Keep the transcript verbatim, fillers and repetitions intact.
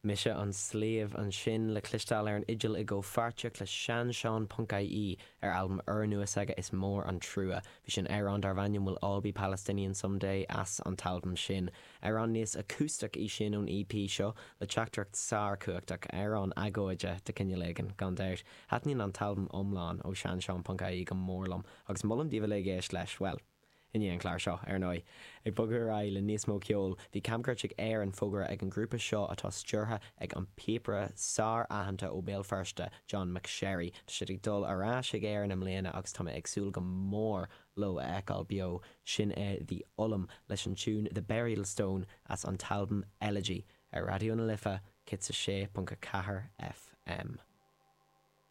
Mise an Sliabh ansin le cloisteáil ar an fhidil i gcomhpháirtíocht le seansean ponc ie ar albam úrnua s'aige Is Mór an Trua. Bhí sin amhrán darb ainm We'll All Be Palestinian Someday as an t-albam sin. Amhrán níos acústach í sin ón EP seo le teachtaireacht sárchumhachtach amhrán agóide de chineál éigin gan dabht. Taitníonn an t-albam iomlán ó seansean ponc ie go mór liom agus molaim daoibh uilig éisteacht leis well. I ndiaidh an chlár seo ar ndóigh. Ag bogadh ar aghaidh le níos mó ceoil, bhí camchuairt ag Éirinn fógartha ag an grúpa seo atá stiúrtha ag an píopaire sár-aitheanta ó Béal Feirste, John McSherry. Tá siad ag dul ar ais ag Éirinn i mbliana agus tá mé ag súil go mór leo a fheiceáil beo sin é The Ollam leis an tune The Burial Stone as an t-albam Elegy ar Raidió na Life céad a sé ponc a ceathair FM.